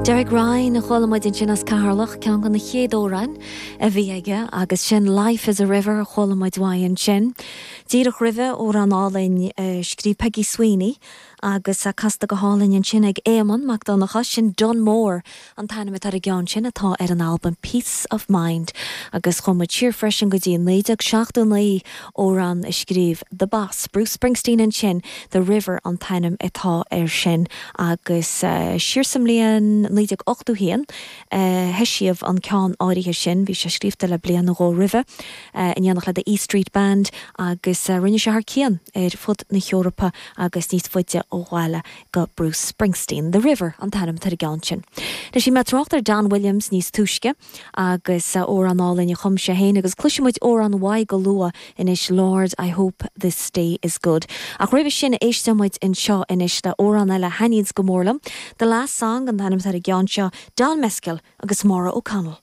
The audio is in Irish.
Derek Ryan a chuala muid ansin as Ceatharlach, ceann de na chéad amhráin a bhí aige agus sin Life is a River a chuala muid uaidh ansin. Díreach roimhe, amhrán álainn a scríobh Peggy Sweeney agus casta go hálainn ansin ag Éamonn Mac Donncha, sin Dunmore an t-ainm atá ar an gceann sin atá ar an albam Peace of Mind agus chuaigh muid siar freisin go dtí 1979, amhrán a scríobh The Boss, Bruce Springsteen ansin, The River an t-ainm atá air sin agus siar sa mbliain 1981 a heisíodh an ceann áirithe sin, bhí sé scríofa le bliain nó dhó roimhe, in éineacht le The E Street Band agus rinne sé thar cionn ar fud na hEorpa agus níos faide ó bhaile. go Bruce Springsteen. The River an t-ainm atá ar an gceann sin. Anois bhí mé ag trácht ar Don Williams níos túisce agus amhrán álainn a chum sé féin agus cloisfidh muid amhrán uaidh go luath anois Lord I Hope This Day Is Good. Ach roimhe sin éistfidh muid anseo anois le amhrán eile a thaitníonns go mór liom, The Last Song an t-ainm atá ar an gceann seo, Don Mescal agus Maura O'Connell.